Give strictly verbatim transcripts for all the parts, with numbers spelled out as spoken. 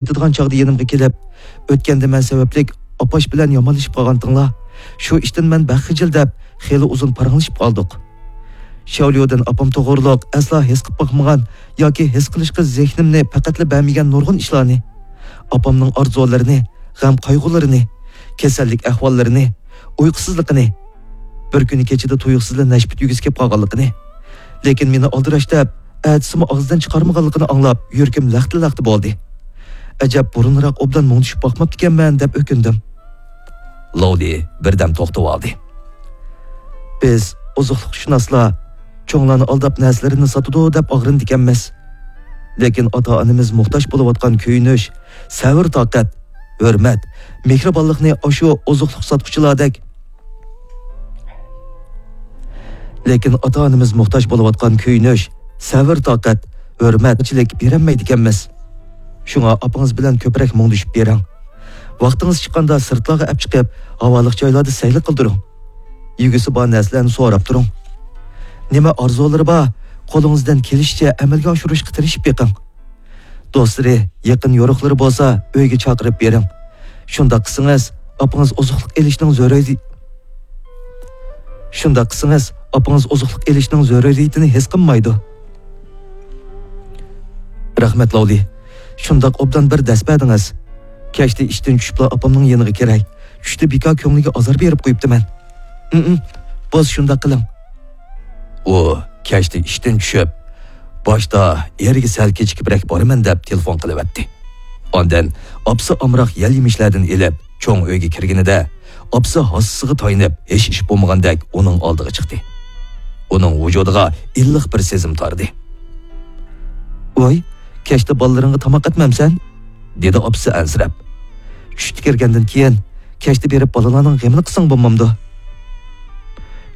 يېتىدىغان چاغدا يېنىمغا كېلىپ، ئۆتكەندە مەن سەۋەبلىك ئاپاش بىلەن يامانلىشىپ قالغانتىڭلار، شۇ ئىشتىن مەن بەك خىجىل دەپ، خېلى ئۇزۇن پاراڭلىشىپ قالدۇق. شياۋليۇدىن ئاپام توغرۇلۇق ئەسلا ھېس قىلىپ باقمىغان ياكى ھېس قىلىشقا زېھنىمنى پەقەتلا بەرمىگەن نۇرغۇن ئىشلارنى، ئاپامنىڭ ئارزۇلىرىنى، غەم-قايغۇلىرىنى، كېسەللىك ئەھۋاللىرىنى، ئۇيقۇسىزلىقىنى، بىر كۈنى كېچىدە تۇيۇقسىزلا نەشپۈت يۈگۈسى كېلىپ قالغانلىقىنى، لېكىن مېنى ئالدىراش دەپ، ئەتىسىمۇ ئاغزىدىن چىقارمىغانلىقىنى ئاڭلاپ، يۈرىكىم لەختە-لەختە بولدى. ئەجەب، بۇرۇنراق ئوبدان مۇڭدىشىپ باقماپتىكەنمەن، دەپ ئۆكۈندۈم. لوۋلى بىردەم توختىۋالدى. بىز، ئوزۇقلۇقشۇناسلار، چوڭلارنى ئالداپ نەرسىلىرىنى ساتىدۇ، دەپ ئاغرىنىدىكەنمىز. لېكىن ئاتا-ئانىمىز موھتاج بولۇۋاتقان كۆيۈنۈش، سەۋر-تاقەت، ھۆرمەت، مېھرىبانلىقنى ئاشۇ ئوزۇقلۇق ساتقۇچىلاردەك لېكىن ئاتا-ئانىمىز موھتاج بولۇۋاتقان كۆيۈنۈش، سەۋر-تاقەت، ھۆرمەتچىلىك بېرەلمەيدىكەنمىز. شۇڭا ئاپىڭىز بىلەن كۆپرەك مۇڭدىشىپ بېرىڭ. ۋاقتىڭىز چىققاندا سىرتلارغا ئەپ چىقىپ، ھاۋالىق جايلاردا سەيلە قىلدۇرۇڭ. يېگۈسى بار نەرسىلەرنى سوراپ تۇرۇڭ. نېمە ئارزۇلىرى بار، قولىڭىزدىن كېلىشىچە ئەمەلگە ئاشۇرۇشقا تىرىشىپ بېقىڭ. دوستلىرى، يېقىن يورۇقلىرى بولسا ئۆيگە چاقىرىپ بېرىڭ. شۇنداق قىلسىڭىز، ئاپىڭىز ئوزۇقلۇق ئېلىشنىڭ زۆرۈرى-، شۇنداق قىلسىڭىز، ئاپىڭىز ئوزۇقلۇق ئېلىشنىڭ زۆرۈرىيىتىنى ھېس قىلمايدۇ. رەھمەت، لوۋلى. شۇنداق ئوبدان بىر دەس بەردىڭىز. كەچتە ئىشتىن چۈشۈپلا ئاپامنىڭ يېنىغا كىرەي. چۈشتە بىكار كۆڭلىگە ئازار بېرىپ قويۇپتىمەن. ئىم-ئىم، بولسا شۇنداق قىلىڭ. ئۇ كەچتە ئىشتىن چۈشۈپ، باشتا ئېرىگە سەل كېچىكىپرەك بارىمەن دەپ تېلېفون قىلىۋەتتى. ئاندىن ئاپىسى ئامراق يەل يېمىشلەردىن ئېلىپ، چوڭ ئۆيگە كىرگىنىدە، ئاپىسى ھاسىسىغا تايىنىپ، ھېچ ئىش بولمىغاندەك ئۇنىڭ ئالدىغا چىقتى. ئۇنىڭ ۋۇجۇدىغا ئىللىق بىر سېزىم تاردى. ۋاي، كەچتە بالىلىرىڭغا تاماق ئەتمەمسەن؟ دېدى ئاپىسى ئەنسىرەپ. چۈشتە كىرگەندىن كېيىن، كەچتە بېرىپ بالىلارنىڭ غېمىنى قىلساڭ بولمامدۇ؟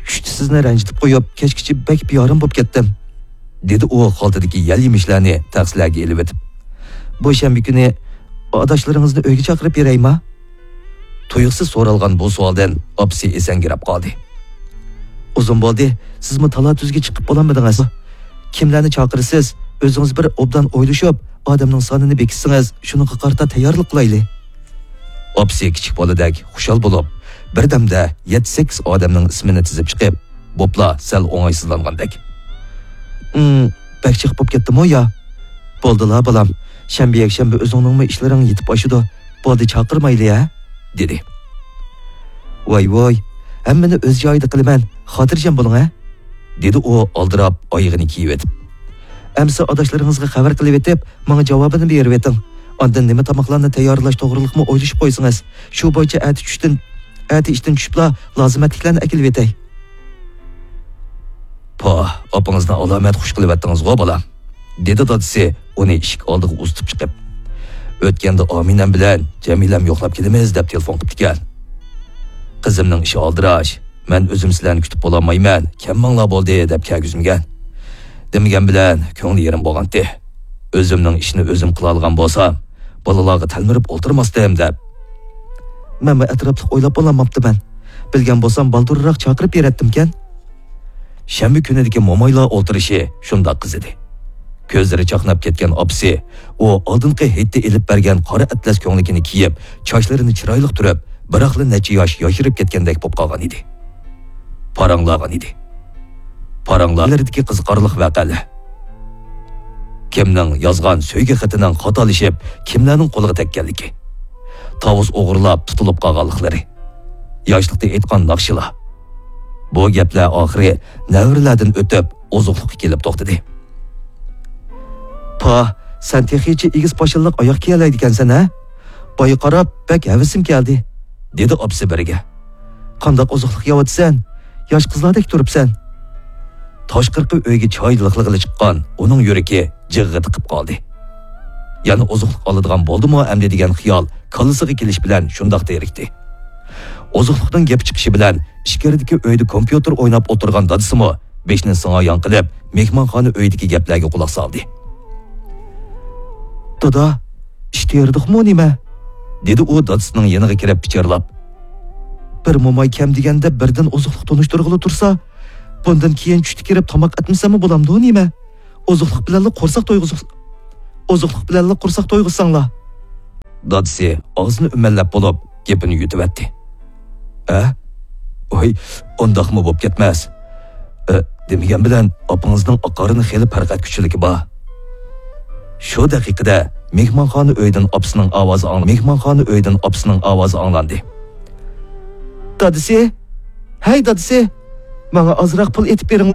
چۈشتە سىزنى رەنجىتىپ قويۇپ، كەچكىچە بەك بىئارام بولۇپ كەتتىم، دېدى ئۇ خالتىدىكى يەل يېمىشلەرنى تەخسىلەرگە ئېلىۋېتىپ. بۇ شەنبە كۈنى ئاداشلىرىڭىزنى ئۆيگە چاقىرىپ بېرەيما؟ تۇيۇقسىز سورالغان بۇ سوئالدىن ئاپىسى ئېسەڭگىرەپ قالدى. ئۇزۇن بولدى، سىزمۇ تالا-تۈزگە چىقىپ بولالمىدىڭىز. كىملەرنى چاقىرىسىز؟ ئۆزىڭىز بىر ئوبدان ئويلىشىپ، ئادەمنىڭ سانىنى بېكىتسىڭىز، شۇنىڭغا قارىتا تەييارلىق قىلايلى. ئاپىسى كىچىك بالىدەك خۇشال بولۇپ، بىردەمدە يەتتە-سەككىز ئادەمنىڭ ئىسمىنى تىزىپ چىقىپ، بوپلا سەل ئوڭايسىزلانغاندەك. ئىم، بەك جىق بولۇپ كەتتىمۇ يا؟ بولدىلا، بالام. شەنبە، يەكشەنبە ئۆزۈڭنىڭمۇ ئىشلىرىڭ يېتىپ ئاشىدۇ. بولدى، چاقىرمايلى، ھە؟ دېدى. ۋاي، ۋاي، ھەممىنى ئۆز جايىدا قىلىمەن، خاتىرجەم بولۇڭ، ھە؟ دېدى ئۇ ئالدىراپ ئايىغىنى كىيىۋېتىپ. ئەمىسە ئاداشلىرىڭىزغا خەۋەر قىلىۋېتىپ، ماڭا جاۋابىنى بېرىۋېتىڭ. ئاندىن نېمە تاماقلارنى تەييارلاش توغرىلىقمۇ ئويلىشىپ قويسىڭىز، شۇ بويىچە ئەتە چۈشتىن، ئەتە ئىشتىن چۈشۈپلا لازىمەتلىكلەرنى ئەكېلىۋېتەي. پاھ، ئاپىڭىزنى ئالامەت خۇش قىلىۋەتتىڭىزغۇ، بالام، دېدى دادىسى ئۇنى ئىشىك ئالدىغا ئۇزىتىپ چىقىپ. ئۆتكەندە ئامىنەم بىلەن جەمىلەم يوقلاپ كېلىمىز دەپ تېلېفون قىپتىكەن. قىزىمنىڭ ئىشى ئالدىراش، مەن ئۆزۈم سىلەرنى كۈتۈپ بولالمايمەن، كەم ماڭلا بولدى دەپ كەلگۈزمىگەن. دېمىگەن بىلەن كۆڭلى يېرىم بولغانتى. ئۆزۈمنىڭ ئىشىنى ئۆزۈم قىلالىغان بولسام، بالىلارغا تەلمۈرۈپ ئولتۇرماستىم دەپ. مەنمۇ ئەتراپلىق ئويلاپ بولالماپتىمەن. بىلگەن بولسام بالدۇرراق چاقىرىپ بېرەتتىمكەن. شەنبە كۈنىدىكى مومايلار ئولتۇرۇشى شۇنداق قىزىدى. كۆزلىرى چاقناپ كەتكەن ئاپىسى ئۇ ئالدىنقى ھېيتتا ئېلىپ بەرگەن قارا ئەتلەس كۆڭلىكىنى كىيىپ، چاچلىرىنى چىرايلىق تۈرۈپ، بىراقلا نەچچە ياش ياشىرىپ كەتكەندەك بولۇپ قالغان ئىدى. پاراڭلىغان ئىدى. پاراڭلىرىدىكى قىزىقارلىق ۋەقەلەر. كىمنىڭ يازغان سۆيگۈ خېتىنىڭ خاتالىشىپ، كىملەرنىڭ قولىغا تەگكەنلىكى. تاۋۇز ئوغرىلاپ تۇتۇلۇپ قالغانلىقلىرى. ياشلىقتا ئېيتقان ناخشىلار. بۇ گەپلەر ئاخىرى نەۋرىلەردىن ئۆتۈپ، ئوزۇقلۇققا كېلىپ توختىدى. پاھ، سەن تېخىچە ئېگىز پاشىلىق ئاياغ كىيەلەيدىكەنسەن، ھە؟ بايا قاراپ، بەك ھەۋىسىم كەلدى، دېدى ئاپىسى بىرىگە. قانداق ئوزۇقلۇق يەۋاتىسەن؟ ياش قىزلاردەك تۇرۇپسەن. تاشقىرىقى ئۆيگە چاي لىقلىغىلى چىققان ئۇنىڭ يۈرىكى جىغغا تىقىپ قالدى. يەنە ئوزۇقلۇق ئالىدىغان بولدىمۇ ئەمدى دېگەن خىيال كاللىسىغا كېلىش بىلەن شۇنداق تېرىكتى. ئوزۇقلۇقنىڭ گېپى چىقىشى بىلەن ئىچكىرىدىكى ئۆيدە كومپيۇتېر ئويناپ ئولتۇرغان دادىسىمۇ بېشىنى سىڭايان قىلىپ، مېھمانخانا ئۆيىدىكى گەپلەرگە قۇلاق سالدى. دادا، ئىش تېرىدۇقمۇ نېمە؟ دېدى ئۇ دادىسىنىڭ يېنىغا كىرىپ پىچىرلاپ. بىر موماي كەم دېگەندە بىردىن ئوزۇقلۇق تونۇشتۇرغىلى تۇرسا، بۇندىن كېيىن چۈشتە كىرىپ تاماق ئەتمىسەممۇ بولامدۇ نېمە؟ ئوزۇقلۇق بىلەنلا قورساق تويغۇز-، ئوزۇقلۇق بىلەنلا قورساق تويغۇزساڭلار. دادىسى ئاغزىنى ئۈمەنلەپ بولۇپ، گېپىنى يۈتۈۋەتتى. ئە؟ ۋاي، ئۇنداقمۇ بوپ كەتمەس. ئە، دېمىگەن بىلەن ئاپىڭىزنىڭ ئاقارىنى خېلى پەرقەت كۈچلۈكى بار. شۇ دەقىقىدە مېھمانخانا ئۆيىدىن ئاپىسىنىڭ ئاۋازى ئاڭ-، مېھمانخانا ئۆيىدىن ئاپىسىنىڭ ئاۋازى ئاڭلاندى. دادىسى! ھەي، دادىسى! ماڭا ئازراق پۇل ئېتىپ بېرىڭ.